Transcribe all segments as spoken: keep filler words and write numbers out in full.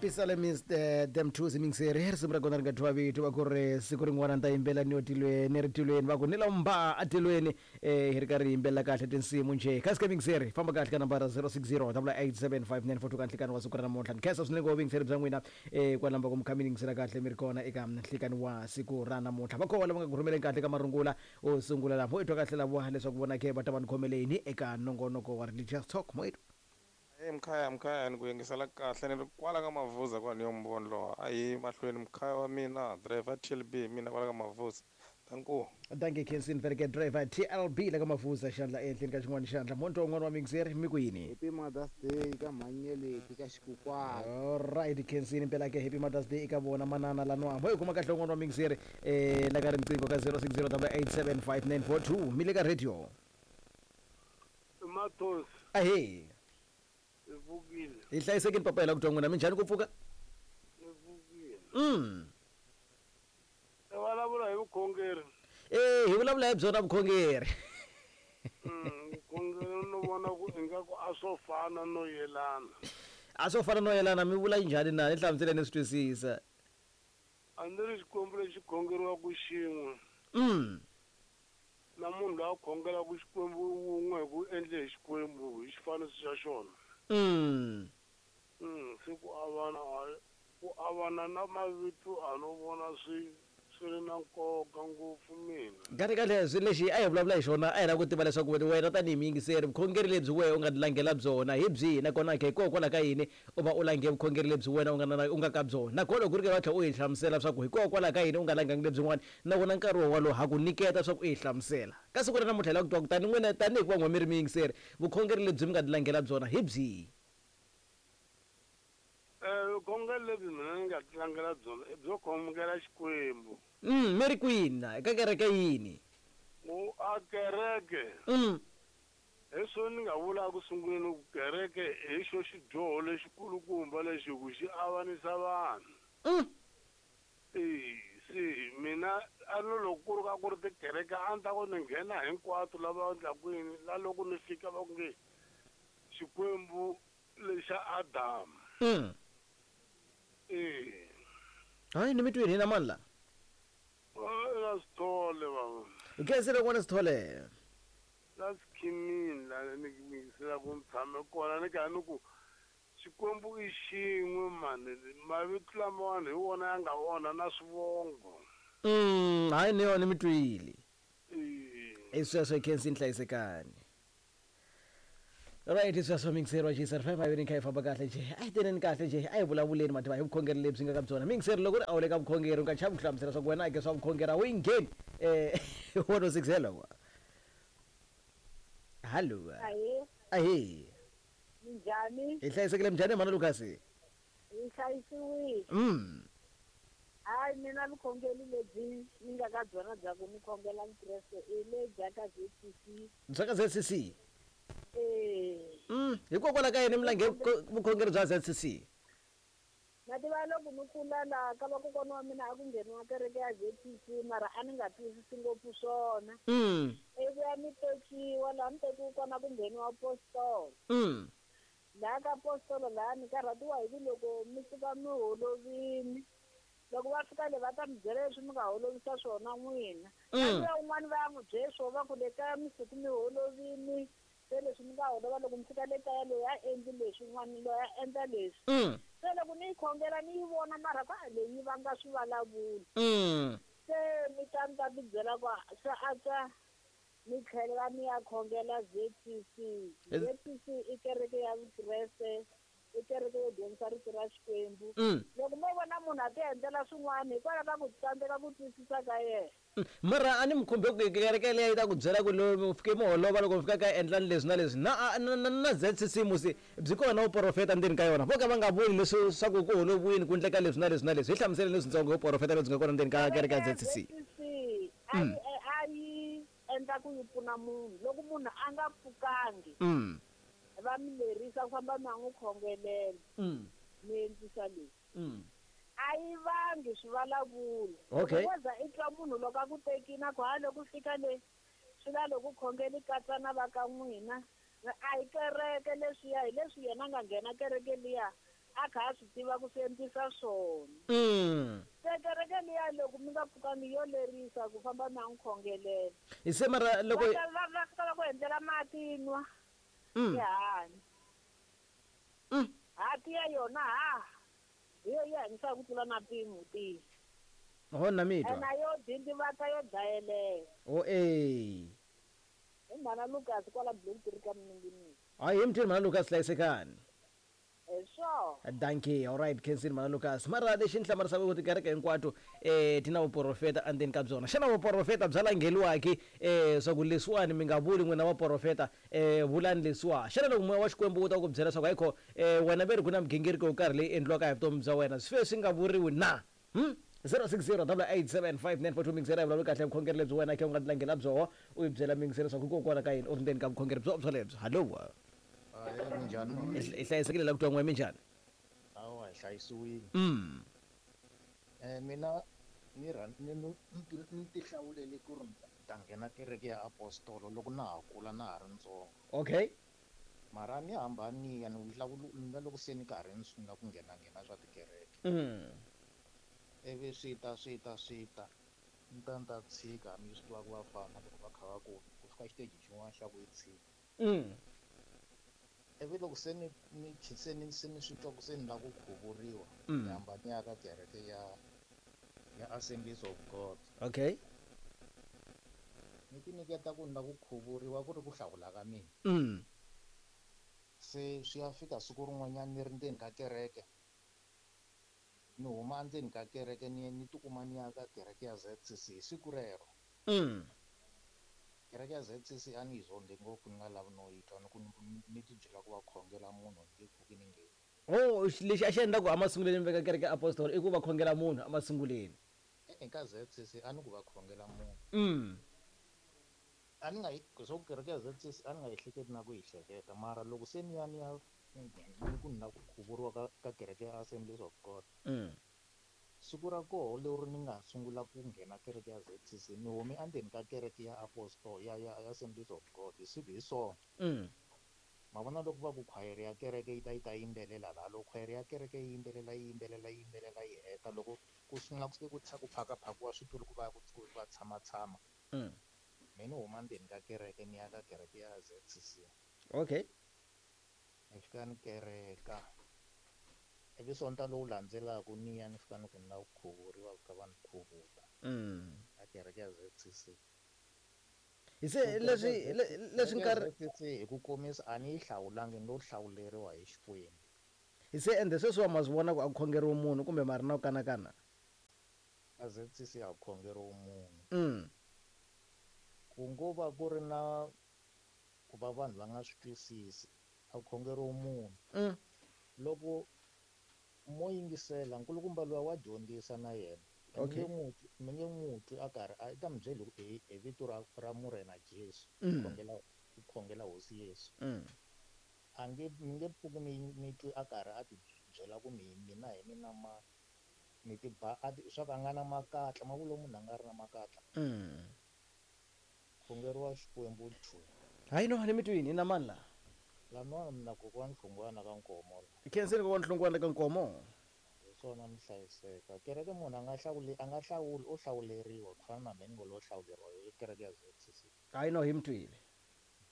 Pisalemist them two yingiseri risimu ra kona ri nga thyiwa vito va ku ri siku rin'wana ni ta yimbela ni yo tilweni ni ri tilweni va ku ni lomba atilweni um hi ri karhi hi yimbelela kahle tinsimu njhe kasi ka yingiseri famba kahle ka nambara zero six zero double eight seven five nine four two ka nhlikani wa siku ra namuntlha ni khensa swinene ku vuyingiseri bya n'wina um kwalamba ku mi kha mi yingisela kahle mi ri kona eka nhlikani wa siku ra namuntlha va koho lava nga ku rhumeleni kahle ka marungula o sungula laha mo i twa kahle lavo leswaku vona ke va ta va ni khomeleni eka nongonoko wa religious talk mo i twa. Hey mkhaya mkhaya ni ku yingisela kahle ni ri kwala ka Mavuza kwani yo Mvondlo a hi mahlweni mkhaya wa mina driver T L B mina kwala ka Mavuza tanku. Dankie Khensin vereke driver T L B la ka Mavuza xandla ehenhleni ka xin'wana xandla monto wun'wana wa mixer mi ku yini. Happy Mother's Day ka Mhanyeleti ka Xikukwani. Alright Khensin impela ke happy Mother's Day eka vona manana lanwa mo hi kuma kahle wun'wana wa mixer eh la ka riqingho ka zero six zero eight seven five nine four two mi le ka radio. Mathonsi. Ahee. Hi pfukile. Hi hlayisekini papa hi la ku twa n'wina minjhani ku pfuka? Hi pfukile. mm I vulavula hi vukhongeri. Eh hi vulavula hi byona vukhongeri. Mm, vukhongeri no vona ku ingaku a swo fana no yelana. A swo fana no yelana mi vula njhani na ni hlamuseleni ni swi twisisa. A ni ri xikwembu lexi khongeriwaka xin'we. mm Na munhu loyi a khongelaka xikwembu wun'we hi ku endle hi xikwembu hi xifaniso xa xona. mm Mm, se ku avana a- ku avana na mavito a no vona swi swi ri na nkoka ngopfu mina. Kahle kahle swi lexi a hi vulavula hi xona a hi lava ku tiva leswaku wena tanihi muyingiseri vukhongeri lebyi wehe u nga langela byona hi byihi nakona ke hikokwalaho ka yini u va u lange vukhongeri lebyi wena u nga na u nga ka byona nakona loko ku ri ke va tlhela u hi hlamusela swa ku hikokwalaho ka yini u nga langangi lebyin'wana na wona nkarhi wo walowo ha ku nyiketa swa ku u hi hlamusela ka siku ra namuntlha hi lava ku twa kutani n'wina tanihi ku va n'we mi ri muyingiseri vukhongeri lebyi mi nga langela byona hi byihi. Eh vukhongeri lebyi mina ni nga tlangela byona i byo khongela Xikwembu. mm mi ri kwini na eka kereke yini? Ku a kereke mm hi swo ni nga vula ku sunguleni ku kereke hi xo xidyoho lexikulukumba lexi ku xi avanisa vanhu. mm E se mina a no loko ku ri ka ku ri tikereke a ni ta ku ni nghena hinkwato lava endlaku yini la loko ni fika va ku nge Xikwembu lexa Adamu. mm E hayi ni mi twini hina mani la? La Sithole baba. Khensile n'wana Sithole. La Sikhimini la ni yingisela ku ni tshame kona ni kha ni ku Xikwembu i xin'we mani mavito lamawani hi wona ya nga onha na swivongo. mm hayi ni yona mi twile. E i sweswo Khensini hlayisekani right sweswo mixer wa G S R five a ni kha yi famba kahle nje a hi teneni kahle nje a hi vulavuleni mativa hi vukhongeri lebyi nga ka byona mixer loko ri a wu le ka vukhongeri u nga chavi ku hlamusela swa ku wena ke swa vukhongeri a wu yi ngheni um one oh six hello hallo. Ahee. Ahee. Minjhani? Hi hlayisekile minjhani mhana Lucas? Hi hlayisiwile. mm Hayi mina vukhongeri lebyi ni nga ka byona bya ku ni khongela Vukreste i le bya ka Z C C. Bya ka Z C C? Eh. mm hikokwalaho ka yini mi lange vukhongeri bya Z C C? Na tiva loko ni kula laha ka vakokwana wa mina a ku ngheniwa kereke ya Z C C mara a ni nga twisisi ngopfu swona. mm Ivi ya ni tekiwa laha ni tekiwe kona ku ngheniwa postolo. mm Laha ka postolo laha ni karhatiwa hi ku loko mi suka mi holovini loko va fika le va ta mi byela leswi mi nga holovisa swona n'wina. Mm. Na luya un'wana va ya n'wi byele swo va ku le kaya mi suku mi holovini se leswi mi nga holova loko mi fika le kaya loyi a endli leswi un'wana loyi a endla leswi. mm Se loko ni yi khongela ni yi vona mara ka leyi yi vanga swivulavula. mm Se mi ta ni ta ti byela ku swa antswa ni tlhelela ni ya khongela Z C C. Z C C i kereke ya Vukreste i kereke yo dyondzisa rito ra Xikwembu. mm Loko mo vona munhu a ti endlela swin'wana hikwalaho ka ku tsandzeka ku twisisa ka yena. Mm. mara a ni mi khumbe ku kereke leyi yi ta ku byela ku lo mi fike mi holova loko mi fika ka endlani leswi na leswi na na na na Z C C musi byi kona vuporofeta ndzeni ka yona vo ka va nga vuli leswi swa ku ku holoviwini ku endleka leswi na leswi na leswi hi hlamuseleni leswitsongo hi vuporofeta lebyi nga kona ndzeni ka kereke ya Z C C. Z C C a yi a yi endla ku yi pfuna munhu loko munhu a nga pfukangi mm va mi lerisa ku famba mi ya n'wi khongelela mm mi endlisa leswi. mm A yi vangi swivulavula. Okay. Loko wo za i twa munhu loko a ku tekini a ku ha loko fika le swi la loko khongeli katsa na va ka n'wina a hi kereke leswiya hi leswi yena a nga nghena kereke liya A kha a swi tiva ku swi endlisa swona. Mm. Se kereke liya loko mi nga pfukani yo lerisa ku famba mi ya n'wi khongelela. Hi se mara loko Va ta va va fika va ku endlela mati nwa. Mm. Tihanya. Mm. Hati ya yona ha. Hi yo yi hanyisaka ku tlula na mpimo tiyi. Ho na mi twa. Ena yo dindivata yo dlayelela. O eh. Hi mhana Lucas kwala Block three ka Mninginisi. Hayi hi mthini mhana Lucas hlayisekani. Hi swona. Dankie, all right, Kensini mhana Lucas. Mara lexi ni hlamarisaka ku tikereke hinkwato eh ti na vuprofeta endzeni ka byona. Xana vuprofeta bya langheliwaki eh swa ku leswiwani mi nga vuli n'wina vaprofeta eh vulani leswiwa. Xana loko moya wa Xikwembu wu ta ku byela swa ku hayikho eh wena ve ri ku na migingiriko yo karhi leyi endliwaka hi vutomi bya wena swi fe swi nga vuriwi na? Hmm? zero six zero double eight seven five nine four two mingiseri a vulavuli kahle vukhongeri lebyi wena khe u nga tilanghela byoho u yi byela mingiseri swa ku hikokwalaho ka yini u ri ndzeni ka vukhongeri byo byolebyo. Hallo. Hayi minjhani? Hi hlayisekile la ku twa n'we minjhani? Hawa hi hlayisiwile. Mm. Eh mina ni rhan ni ni ti hlawulele ku ri ta nghena kereke ya apostolo loko na ha kula na ha ri ntsongo. Okay. Mara ni hambani ya ni hlawula loko se ni karhi ni sungula ku nghena nghena swa tikereke. Mm. Ivi swi ta swi ta swi ta ni ta ni ta tshika mi swi tiva ku vafana loko va kha va ku ku fika xiteji xin'wana xa ku yi tshika. Mm. Ivi loko se ni ni se ni se ni swi twa ku se ni lava ku khuvuriwa Mm. ni hamba ni ya ka kereke ya ya Assemblies of God. Okay. Ni ti nyiketa ku ni lava ku khuvuriwa ku ri ku hlawula ka mina. Mm. Se swi ya fika siku rin'wanyana ni ri ndzeni ka kereke. Ni huma ndzeni ka kereke ni ni tikuma ni ya ka kereke ya Z C C hi siku rero. Mm. Kereke ya Z C C a ni yi zonde ngopfu ni nga lavi no yi twa ni ku ni ti byela ku va khongela munhu ni nge pfuki ni ngheni. Oh, lexi a xi endla ku emasungulweni mi veka kereke ya apostolo i ku va khongela munhu emasungulweni. E-e ka Z C C a ni ku va khongela munhu. Mm. A ni nga yi swa ku kereke ya Z C C a ni nga yi hleketi na ku yi hleketa mara loko se ni ya ni ya ni ku ni lava ku khuvuriwa ka ka kereke ya Assemblies of God. Mm. Siku ra koho leri ni nga sungula ku nghena kereke ya Z C C ni hume endzeni ka kereke ya Apostol ya ya ya Assemblies of God hi siku hi swona. Mm. Ma vona loko va ku khwayere ya kereke yi ta yi ta yimbelela laha loko khwayere ya kereke yi yimbelela yi yimbelela yi yimbelela yi heta loko ku sungula ku se ku ku phakaphakiwa switulu ku va ku va tshama tshama. Mm. Me ni huma ndzeni ka kereke ni ya ka kereke ya Z C C. Okay. Ni fika ni kereka. Ivi sonta lowu landzelaka ni ya ni fika ni ku ni lava ku khuvuriwa ku va ni khuvula. Mm. Ka kereke ya Z C C. Hi se leswi leswi nkarhi Z C C hi ku komisa a ni yi hlawulangi ni lo hlawuleriwa hi Xikwembu. Hi se ende sweswi wa ma swi vona ku a ku khongeriwi munhu kumbe ma ri na ku kanakana? Ka Z C C a ku khongeriwi munhu. Mm. Ku ngo va ku ri na ku va vanhu va nga swi twisisi a ku khongeriwi munhu. Mm. Loko mo yingisela nkulukumba luya wa dyondzisa na yena. Okay. Mi nge n'wi twi a karhi a ta mi byeli hi hi vito ra ra Murena Jesu. Mm. Khongela ku khongela Hosi Yesu. Mm. A nge mi nge pfuki mi mi twi a karhi a ti byela ku mi mina hi mina ma ni ti ba a ti swa ku a nga na makatla ma vula munhu a nga ri na makatla. Mm. Khongeriwa Xikwembu two. Hayi no ni mi twini na mani la? Lama mina kokwani Hlungwana ka Nkomo la. Khenseni kokwani Hlungwana ka Nkomo. Hi swona mi hlayiseka. Kereke munhu a nga hlawuli a nga hlawuli o hlawuleriwa ku fana na mina ni ngo lo hlawuleriwa hi kereke ya Z C C. Hayi no hi mi twile.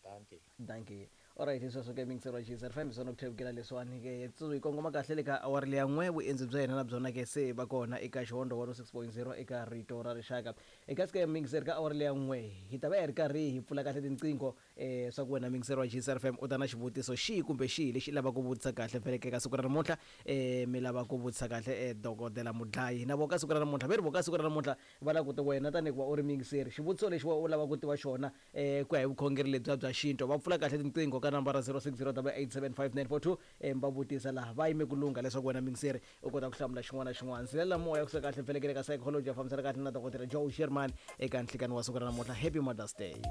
Dankie. Dankie. Alright, sweswo ke mingisero wa G Z F M swona ku thevukela leswiwani ke tsu hi kongoma kahle le ka awara leya n'we vuendzi bya hina na byona ke se va kona eka Xihondo one oh six point zero eka Rito ra Rixaka. Eka sike mingiseri ka awara leya n'we hi ta va hi ri karhi hi pfula kahle tinqingho eh swa ku wena mingiseri wa G Z F M u ta na xivutiso xihi kumbe xihi lexi lavaka ku vutisa kahle vhele ka siku ra namuntlha eh mi lava ku vutisa kahle eh dokodela Mudlayi na vo ka siku ra namuntlha ve ri vo ka siku ra namuntlha va lava ku ti wena tanihi ku va u ri mingiseri xivutiso lexi wa u lava ku tiva xona eh ku ya hi vukhongeri lebyiya bya xintu va pfula kahle tinqingho ka nambara zero six zero double eight seven five nine four two eh va vutisa laha va yime ku lungha leswaku wena mingiseri u kota ku hlamula xin'wana na xin'wana. Ndzilela moya kusuka kahle vhelekele ka psychology ya fambisana kahle na dokodela Joe Sherman eka nhlikani wa siku ra namuntlha. Happy Mother's Day.